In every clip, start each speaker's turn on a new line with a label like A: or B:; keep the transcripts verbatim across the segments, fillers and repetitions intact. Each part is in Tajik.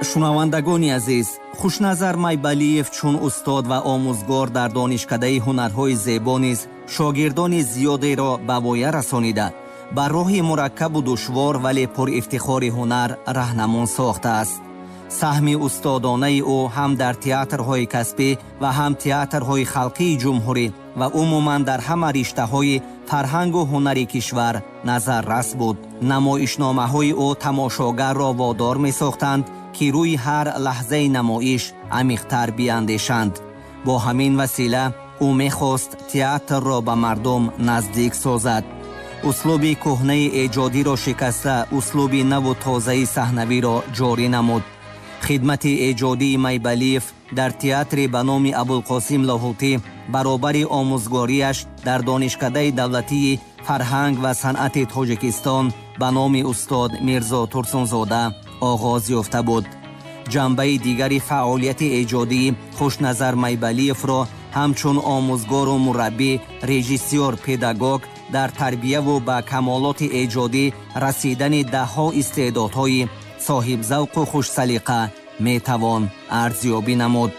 A: Шунавандагони азиз, Хушназар Майбалиев чун устод ва омӯзгор дар донишкадаи ҳунарҳои зебо низ шогирдони зиёдеро ба воя расонида, ба роҳи мураккабу душвор, вале пурифтихори ҳунар раҳнамон сохтааст. Саҳми устодонаи ӯ ҳам дар театрҳои касбӣ ва ҳам театрҳои халқии ҷумҳурӣ ва умуман дар ҳама риштаҳои фарҳангу ҳунари кишвар назаррас буд. Намоишномаҳои ӯ тамошогарро водор месохтанд, ки рӯи ҳар лаҳзаи намоиш амиқтар биандешанд. Бо ҳамин васила ӯ мехост театрро ба мардум наздик созад. Услуби кӯҳнаи эҷодиро шикаста, услуби наву тозаи саҳнавиро ҷорӣ намуд. Хидмати эҷодии Майбалиев дар театри ба номи Абулқосим Лоҳутӣ баробари омӯзгориаш дар донишкадаи давлатии фарҳанг ва санъати Тоҷикистон ба номи устод Мирзо Турсунзода оғоз ёфта буд. Ҷанбаи дигари фаъолияти эҷодии Хушназар Майбалиевро ҳамчун омӯзгору мураббӣ, режиссёр, педагог дар тарбияву ба камолоти эҷодӣ расидани даҳҳо истеъдодҳои соҳибзавқу хушсалиқа метавон арзёбӣ намуд.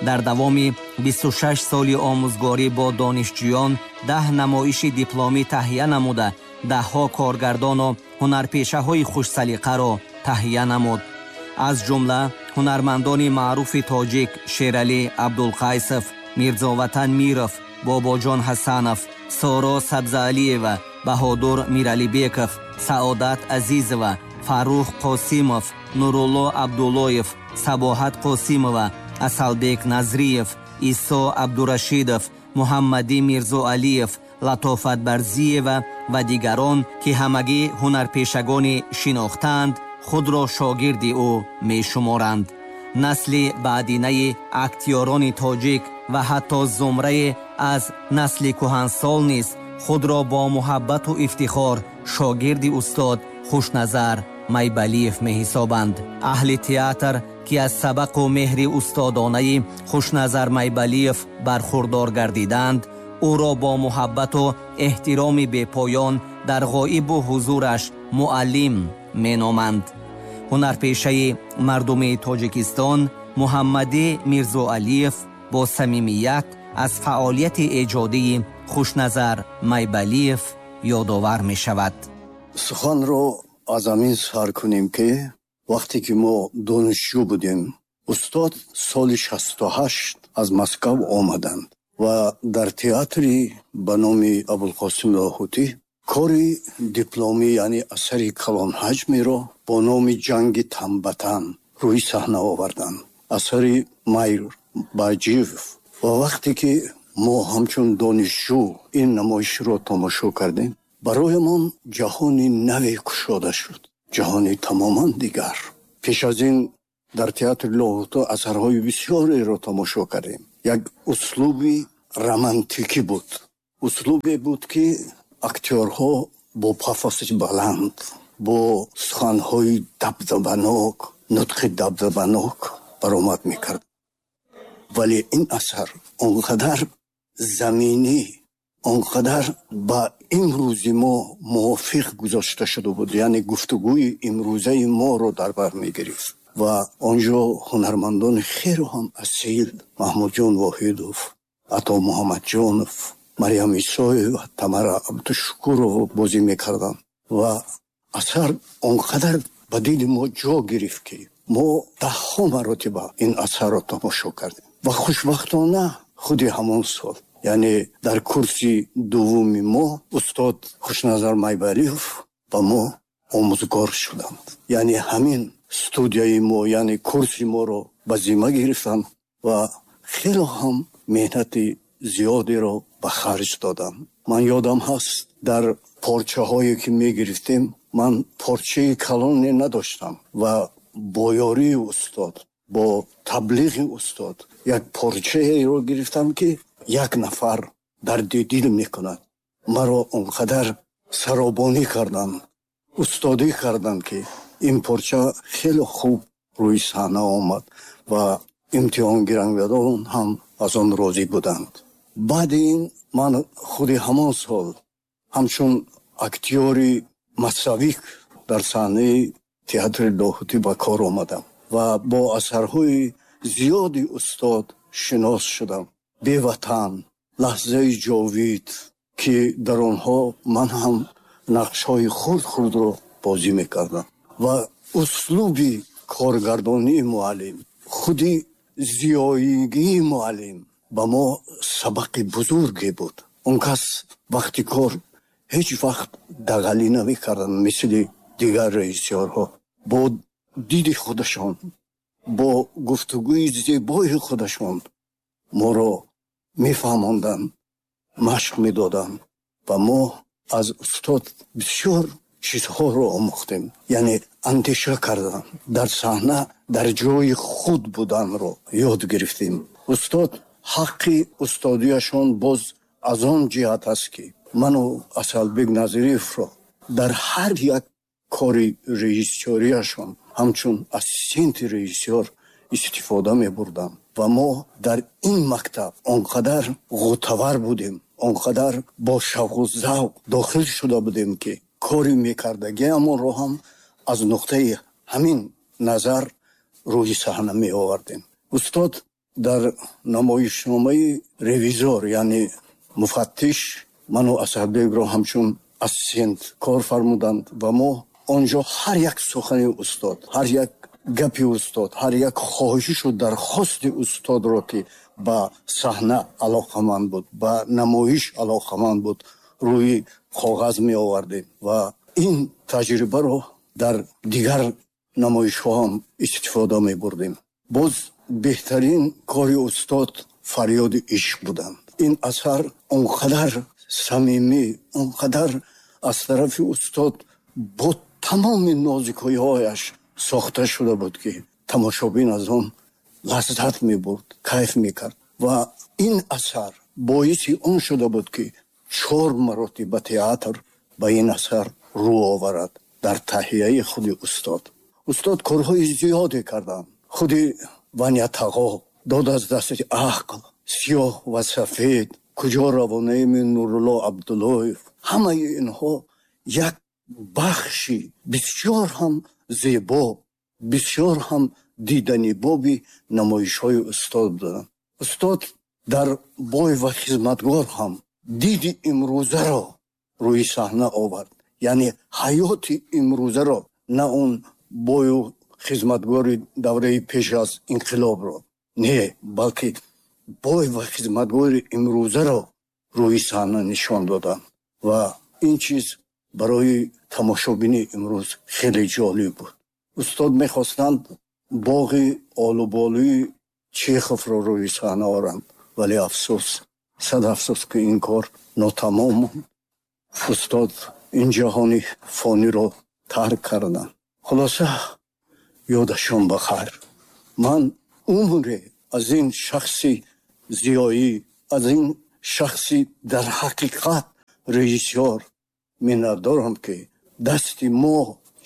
A: Дар давоми бисту шаш соли омӯзгорӣ бо донишҷӯён даҳ намоиши дипломӣ таҳия намуда, даҳҳо коргардону ҳунарпешаҳои хушсалиқаро таҳия намуд. Аз ҷумла ҳунармандони маъруфи тоҷик Шералӣ Абдулқайсов, Мирзоватан Миров, Бобоҷон Ҳасанов, Соро Сабзаалиева, Баҳодур Миралибеков, Саодат Азизова, Фаррух Қосимов, Нурулло Абдуллоев, Сабоҳат Қосимова, Асалбек Назриев, Исо Абдурашидов, Муҳаммадӣ Мирзоалиев, Латофат Барзиева ва дигарон, ки ҳамагӣ ҳунарпешагони шинохтаанд, худро шогирди ӯ мешуморанд. Насли баъдинаи актёрони тоҷик ва ҳатто зумрае аз насли кӯҳансол низ худро бо муҳаббату ифтихор шогирди устод Хушназар Майбалиев меҳисобанд. Аҳли театр, ки аз сабақу меҳри устодонаи Хушназар Майбалиев бархурдор гардиданд, ӯро бо муҳаббату эҳтироми бепоён дар ғоибу ҳузураш муаллим меноманд. Ҳунарпешаи мардуми Тоҷикистон Муҳаммадӣ Мирзоалиев бо самимият аз фаъолияти эҷодии Хушназар Майбалиев ёдовар мешавад.
B: Суханро аз ҳамин сар кунем, ки вақте ки мо донишҷӯ будем, устод соли шасту ҳашт аз Москав омаданд ва дар театри ба номи Абулқосим Лоҳутӣ кори дипломӣ, яъне асари калонҳаҷмеро бо номи Ҷанги Танбатан рӯи саҳна оварданд, асари Майр Баҷиев. Ва вақте ки мо ҳамчун донишҷӯ ин намоишро тамошо кардем, бароямон ҷаҳони наве кушода шуд, ҷаҳони тамоман дигар. Пеш аз ин дар театри Лоҳутӣ асарҳои бисёреро тамошо кардем. Як услуби романтикӣ буд, услубе буд, ки актёрҳо бо пафоси баланд, бо суханҳои дабдабанок, нутқи дабдабанок баромад мекард. Вале ин асар он қадар заминӣ, он қадар ба имрӯзи мо мувофиқ гузошта шуда буд, яъне гуфтугӯи имрӯзаи моро дар бар мегирифт. Ва он ҷо ҳунармандони хеле ҳам асил, Маҳмудҷон Воҳидов, Ато Муҳаммадҷонов, Марьям Исоева, Тамара Абдушукурова бозӣ мекарданд. Ва асар он қадар ба дили мо ҷо гирифт, ки мо даҳҳо маротиба ин асарро тамошо кардем. Ва хушбахтона худи ҳамон сол, яъне дар курси дуввуми мо, устод Хушназар Майбалиев ба мо омӯзгор шуданд. Яъне ҳамин студияи мо, яъне курси моро ба зимма гирифтанд ва хеле ҳам меҳнати зиёдеро ба харҷ доданд. Ман ёдам ҳаст, дар порчаҳое ки мегирифтем, ман порчаи калоне надоштам ва бо ёрии устод, бо таблиғи устод як порчаеро гирифтам, ки як нафар дарди дил мекунад. Маро он қадар саробонӣ карданд, устодӣ карданд, ки ин порча хеле хуб рӯи саҳна омад ва имтиҳонгирандагон ҳам аз он розӣ буданд. Баъди ин ман худи ҳамон сол ҳамчун актёри массовик дар саҳнаи театри Лоҳутӣ ба кор омадам. ва бо асарҳои зиёди устод шинос шудам. Беватан, Лаҳзаи ҷовид, ки дар онҳо ман ҳам нақшҳои хурд-хурдро бозӣ мекардам. Ва услуби коргардонии муаллим, худи зиёигии муаллим ба мо сабақи бузурге буд. Он кас вақти кор ҳеҷ вақт дағалӣ намекарданд, мисли дигар режиссёрҳо. Бо диди худашон, бо гуфтугӯи зебои худашон моро мефаҳмонданд, машқ медоданд ва мо аз устод бисёр чизҳоро омӯхтем. Яъне андеша кардан, дар саҳна дар ҷои худ буданро ёд гирифтем. Устод ҳаққи устодияшон боз аз он ҷиҳат аст, ки ману Асалбек Назириевро дар ҳар як кори режиссёрияшон ҳамчун ассистенти режиссёр истифода мебурдам ва мо дар ин мактаб он қадар ғӯтавар будем, он қадар бо шавқу завқ дохил шуда будем, ки кори мекардагиамонро ҳам аз нуқтаи ҳамин назар рӯи саҳна меовардем. Устод дар намоишномаи ревизор, яъне муфаттиш, ману Асадбекро ҳамчун ассистент кор фармуданд ва мо онҷо ҳар як сухани устод, ҳар як гапи устод, ҳар як хоҳишу дархости устодро, ки ба саҳна алоқаманд буд, ба намоиш алоқаманд буд, рӯи коғаз меовардем ва ин таҷрибаро дар дигар намоишҳо ҳам истифода мебурдем. Боз беҳтарин кори устод фарёди ишқ буданд. Ин асар он қадар самимӣ, он қадар аз тарафи устод бо тамоми нозикиҳояш сохта шуда буд, ки тамошобин аз он лаззат мебурд, кайф мекард. Ва ин асар боиси он шуда буд, ки чор маротиба театр ба ин асар рӯ оварад дар таҳияи худи устод. Устод корҳои зиёде карданд. Худи Ваня Тағо, Дод аз дасти ақл, Сиёҳ ва сафед, Куҷо равонаем Нурулло Абдуллоев, ҳамаи инҳо як бахши бисёр ҳам зебо, бисёр ҳам диданибоби намоишҳои устод буданд. Устод дар Бой ва хизматгор ҳам диди имрӯзаро рӯи саҳна овард, яъне ҳаёти имрӯзаро, на он бою хизматгори давраи пеш аз инқилобро, не, балки бой ва хизматгори имрӯзаро рӯи саҳна нишон доданд ва ин чиз барои тамошобини имрӯз хеле ҷолиб буд. Устод мехостанд боғи олуболӯи Чеховро рӯи саҳна оранд, вале афсӯс, сад афсӯс, ки ин кор нотамом монд. Устод ин ҷаҳони фониро тарк карданд. Хулоса, ёдашон ба хайр. Ман умре аз ин шахси зиёӣ, аз ин шахси дар ҳақиқат режиссёр миннатдорам, ки дасти мо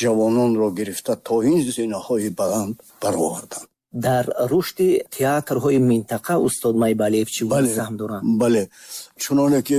B: ҷавононро гирифта то ин зинаҳои баланд бароварданд.
A: Дар рушди театрҳои минтақа устод Майбалиев чӣ гуна саҳм доранд?
B: Бале, чуноне ки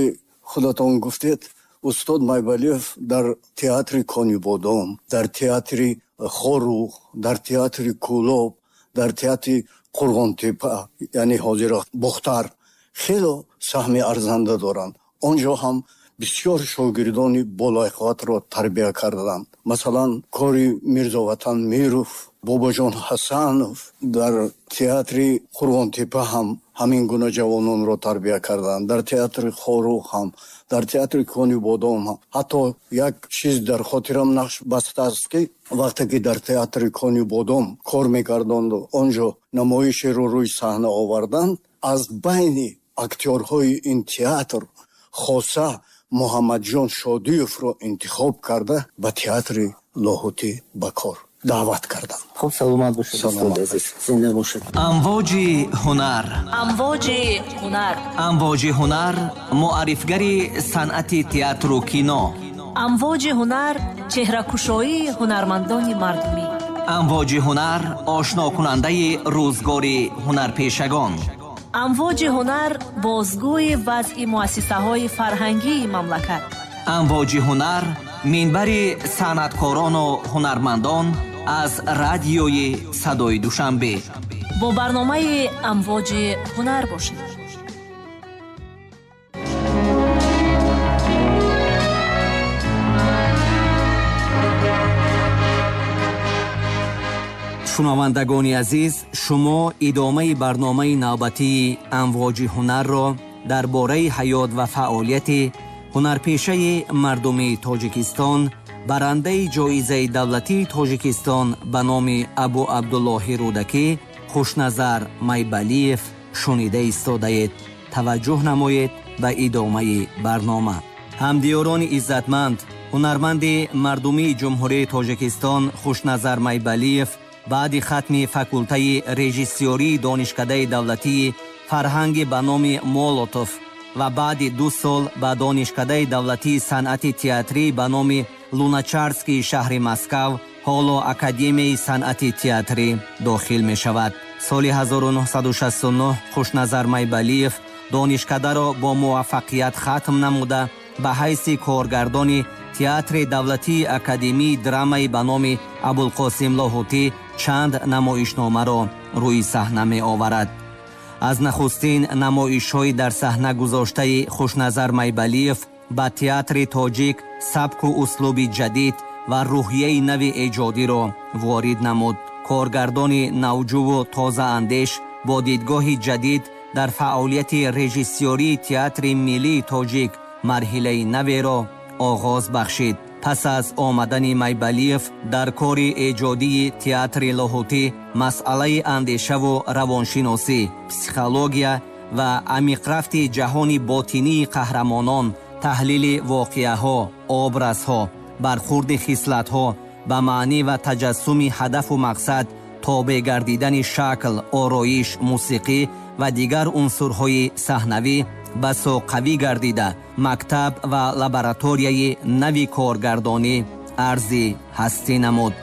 B: худатон гуфтед, устод Майбалиев дар театри Конибодом, дар театри Хоруғ, дар театри Кӯлоб, дар театри Қурғонтепа, яъне ҳозира Бохтар, хело саҳми арзанда доранд. Он ҷо ҳам бисёр шогирдони болоқувватро тарбия карданд. Масалан, кори Мирзоватан Миров, Бобоҷон Ҳасанов дар театри Қурғонтепа ҳам ҳамин гуна ҷавононро тарбия карданд. Дар театри Хоруғ ҳам, дар театри Конибодом ҳам. Ҳатто як чиз дар хотирам нақш бастааст, ки вақте ки дар театри Конибодом кор мекарданду он ҷо намоишеро рӯи саҳна оварданд, аз байни актёрҳои ин театр хоса Муҳаммадҷон Шодиевро интихоб карда ба театри Лоҳутӣ ба кор даъват карданд.
A: Хуб, саломат бошед, устод азиз, зинда бошед.
C: Амвоҷи ҳунар,
D: амвоҷи ҳунар,
C: амвоҷи ҳунар муаррифгари санъати театру кино.
D: Амвоҷи ҳунар чеҳракушоии ҳунармандони мардумӣ.
C: Амвоҷи ҳунар ошнокунандаи рӯзгори ҳунарпешагон.
D: Амвоҷи ҳунар бозгӯи вазъи муассисаҳои фарҳангии мамлакат.
C: Амвоҷи ҳунар минбари санъаткорону ҳунармандон Аз радиои Садои Душанбе.
D: Бо барномаи Амвоҷи ҳунар бошед.
A: Шунавандагони азиз, шумо идомаи барномаи навбатии Амвоҷи ҳунарро дар бораи ҳаёт ва фаъолияти ҳунарпешаи мардумии Тоҷикистон, барандаи ҷоизаи давлатии Тоҷикистон ба номи Абу Абдуллоҳи Рӯдакӣ Хушназар Майбалиев шунида истодаед. Таваҷҷӯҳ намоед ба идомаи барнома. Ҳамдиёрони иззатманд, ҳунарманди мардумии Ҷумҳурии Тоҷикистон Хушназар Майбалиев баъди хатми факултаи режиссёрии Донишкадаи давлатии фарҳанги ба номи Молотов ва баъди ду сол ба Донишкадаи давлатии санъати театрӣ ба номи Луначарскии шаҳри Москав, ҳоло Академияи санъати театрӣ дохил мешавад. Соли ҳазору нуҳсаду шасту нуҳ Хушназар Майбалиев донишкадаро бо муваффақият хатм намуда ба ҳайси коргардони театри давлатии академии драмаи ба номи Абулқосим Лоҳутӣ чанд намоишномаро рӯи саҳна меоварад. Аз нахустин намоишҳои дар саҳна гузоштаи Хушназар Майбалиев ба театри тоҷик сабку услуби ҷадид ва рӯҳияи нави эҷодиро ворид намуд. Коргардони навҷуву тозаандеш бо дидгоҳи ҷадид дар фаъолияти режиссёрии театри миллии тоҷик марҳилаи наверо оғоз бахшид. Пас аз омадани Майбалиев дар кори эҷодии театри Лоҳутӣ масъалаи андешаву равоншиносӣ, психология ва амиқрафти ҷаҳони ботинии қаҳрамонон, таҳлили воқеаҳо, образҳо, бархурди хислатҳо ба маънӣ ва таҷассуми ҳадафу мақсад, тобеъ гардидани шакл, ороиш, мусиқӣ ва дигар унсурҳои саҳнавӣ басо қавӣ гардида, мактаб ва лабораторияи нави коргардонӣ арзи ҳастӣ намуд.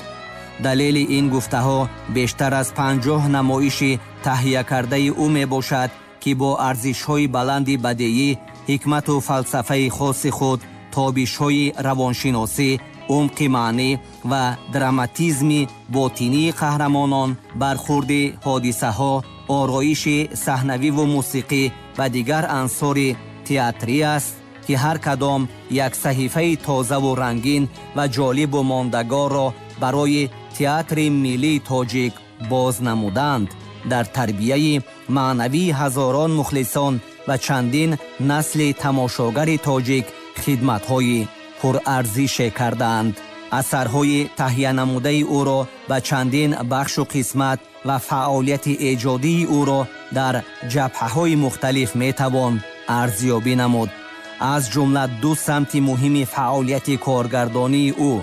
A: Далели ин гуфтаҳо бештар аз панҷоҳ намоиши таҳиякардаи ӯ мебошад, ки бо арзишҳои баланди бадеӣ, ҳикмату фалсафаи хоси худ, тобишҳои равоншиносӣ, умқи маънӣ ва драматизми ботинии қаҳрамонон, бархурди ҳодисаҳо, ороиши саҳнавиву мусиқӣ ва дигар ансори театрӣ аст, ки ҳар кадом як саҳифаи тозаву рангин ва ҷолибу мондагорро барои театри миллии тоҷик боз намуданд. Дар тарбияи маънавии ҳазорон мухлисон ва чандин насли тамошогари тоҷик хидматҳои пурарзише кардаанд. Асарҳои таҳиянамудаи ӯро ба чандин бахшу қисмат ва фаъолияти эҷодии ӯро дар ҷабҳаҳои мухталиф метавон арзёбӣ намуд. Аз ҷумла ду самти муҳими фаъолияти коргардонии ӯ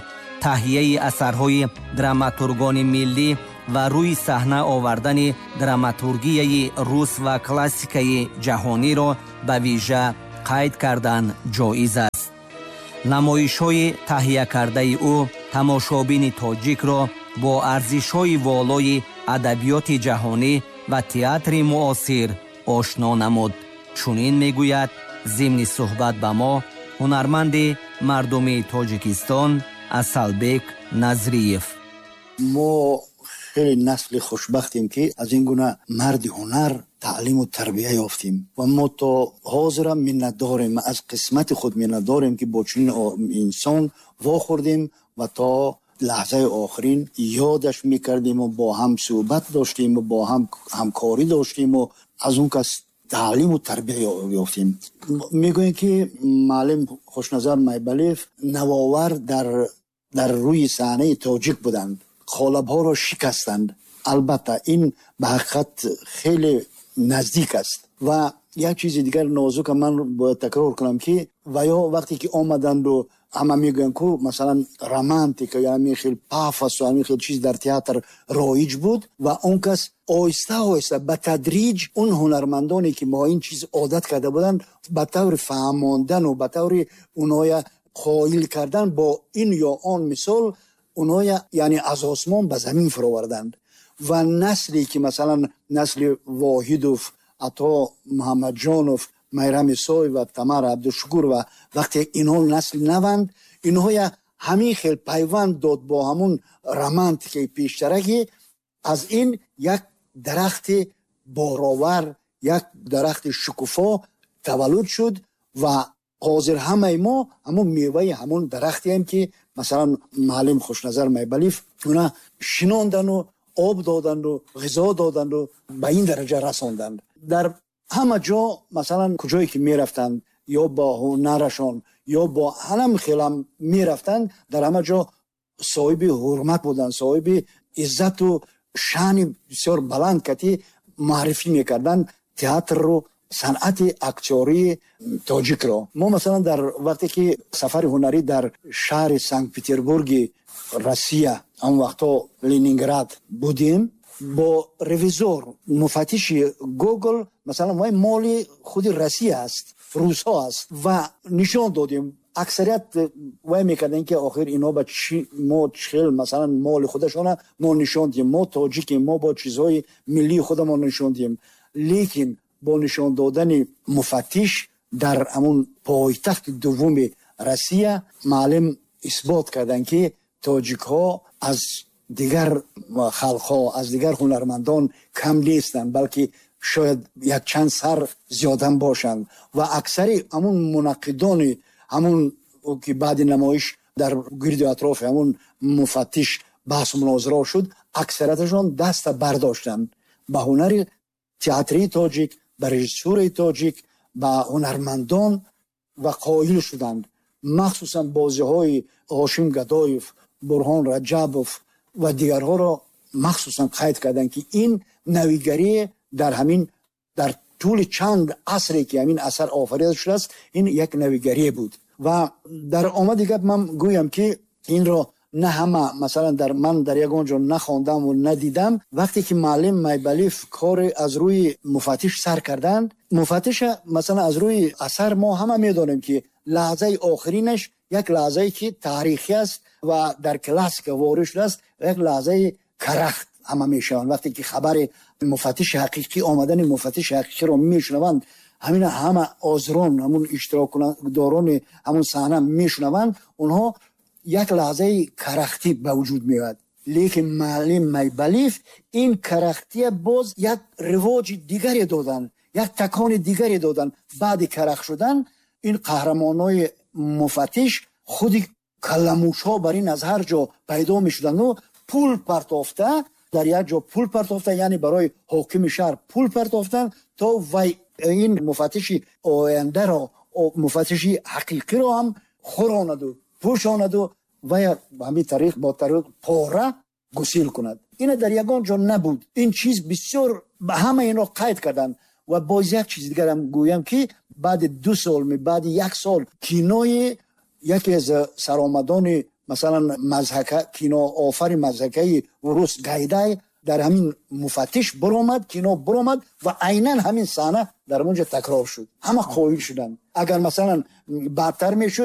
A: таҳияи асарҳои драматургони миллӣ ва рӯи саҳна овардани драматургияи рус ва классикаи ҷаҳониро ба вижа қайд кардан ҷоиз аст. Намоишҳои таҳиякардаи ӯ тамошобини тоҷикро бо арзишҳои волои адабиёти ҷаҳонӣ ва театри муосир ошно намуд. Чунин мегӯяд зимни суҳбат ба мо ҳунарманди мардумии Тоҷикистон Асалбек Назриев.
E: Мо хеле насли хушбахтем, ки аз ин гуна марди ҳунар таълиму тарбия ёфтем ва мо то ҳозирам миннатдорем, аз қисмати худ миннатдорем, ки бо чунин инсон вохӯрдем ва то лаҳзаи охирин ёдаш мекардем ва бо ҳам суҳбат доштем ва бо ҳам ҳамкорӣ доштем ва аз он кас таълиму тарбия ёфтем. Мегӯем, ки муаллим Хушназар Майбалиев навовар дар дар рӯи саҳнаи тоҷик буданд, қолабҳоро шикастанд. Албатта ин ба ҳақиқат хеле наздик аст. Ва як чизи дигар нозука ман бояд такрор кунам, ки ва ё вақте ки омаданду ҳама мегӯянд ку масалан романтика ё ҳамин хел пафос ва ҳамин хел чиз дар театр роиҷ буд ва он кас оҳиста оҳиста ба тадриҷ он ҳунармандоне ки мо ин чиз одат карда буданд ба таври фаҳмондану ба таври онҳоя қоил кардан бо ин ё он мисол онҳоя яъне аз осмон ба замин фуроварданд. Ва насле ки масалан насли Воҳидов, Ато Муҳаммадҷонов, Майрам Исоева, Тамара Абдушукурова, вақте инҳо насли наванд, инҳоя Ҳамин хел пайванд дод бо ҳамун романтикаи пештара, ки аз ин як дарахти боровар, як дарахти шукуфо таваллуд шуд ва ҳозир ҳамаи мо ҳамун меваи ҳамун дарахтеем, ки масалан муаллим Хушназар Майбалиев уна шинондану об доданду, ғизо доданду, ба ин дараҷа расонданд. Дар ҳама ҷо, масалан, куҷое ки мерафтанд, ё бо ҳунарашон, ё бо ҳанам хелам мерафтанд, дар ҳама ҷо соҳиби ҳурмат буданд, соҳиби иззату шаъни бисёр баланд кати муаррифӣ мекарданд театрро, санъати актёрии тоҷикро. Мо, масалан, дар вақте ки сафари ҳунарӣ дар шаҳри Санкт Петербурги Россия, он вақтҳо Ленинград, будем, бо ревизор, муфаттиши Гогол, масалан, вай моли худи Россия аст, русҳо аст, ва нишон додем. Аксарият вай мекарданд, ки охир ино ба чи мо хел, масалан, моли худашона мо нишон диҳем, мо тоҷикем, мо бо чизҳои миллии худамон нишон диҳем. Лекин бо нишон додани муфаттиш дар ҳамун пойтахти дуввуми Россия маълим исбот карданд, ки тоҷикҳо аз дигар халқҳо, аз дигар ҳунармандон кам нестанд, балки шояд якчанд сар зиёдам бошанд. Ва аксари ҳамун мунаққидони ҳамун, ки баъди намоиш дар гирду атрофи ҳамун муфаттиш баҳсу мунозира шуд, аксарияташон даста бардоштанд ба ҳунари театрии тоҷик, ба режиссураи тоҷик, ба ҳунармандон ва қоил шуданд. Махсусан бозиҳои Ҳошим Гадоев, Бурҳон Раҷабов ва дигарҳоро махсусан қайд карданд, ки ин навигарие дар ҳамин дар тӯли чанд асре ки ҳамин асар офарида шудааст, ин як навигарие буд. Ва дар омади гап ман гӯям, ки инро на ҳама, масалан, дар ман дар ягон ҷо нахондаму надидам. Вақте ки муаллим Майбалиев кори аз рӯи муфаттиш сар карданд, муфаттиша, масалан, аз рӯи асар мо ҳама медонем, ки лаҳзаи охиринаш як лаҳзае ки таърихӣ аст ва дар классика ворид шудааст, як лаҳзаи карахт ҳама мешаванд. Вақте ки хабари муфаттиши ҳақиқӣ, омадани муфаттиши ҳақиқиро мешунаванд, ҳамин ҳама ҳозирон, ҳамун иштирокдорони ҳамун саҳна мешунаванд, онҳо як лаҳзаи карахтӣ ба вуҷуд меояд. Лекин муаллим Майбалиев ин карахтия боз як ривоҷи дигаре доданд, як такони дигаре доданд. Баъди карахт шудан ин қаҳрамонои муфаттиш худи калламушҳо бар ин аз ҳар ҷо пайдо мешуданду пул партофта, дар як ҷо пул партофта, яъне барои ҳокими шаҳр пул партофтанд, то вай ин муфаттиши ояндаро, муфаттиши ҳақиқиро ҳам хӯронаду пӯшонаду вай ҳамин тариқ бо тариқ пора гусил кунад. Ина дар ягон ҷо набуд. Ин чиз бисёр ҳама инро қайд карданд. Ва боз як чиз дигарам гӯям, ки баъди ду сол, баъди як сол кинои яке аз саромадони, масалан, мазҳака, киноофари мазҳакаи рус Гайдай дар ҳамин муфаттиш биромад, кино биромад ва айнан ҳамин саҳна дар онҷо такрор шуд. Ҳама қоил шуданд. Агар, масалан, баъдтар мешуд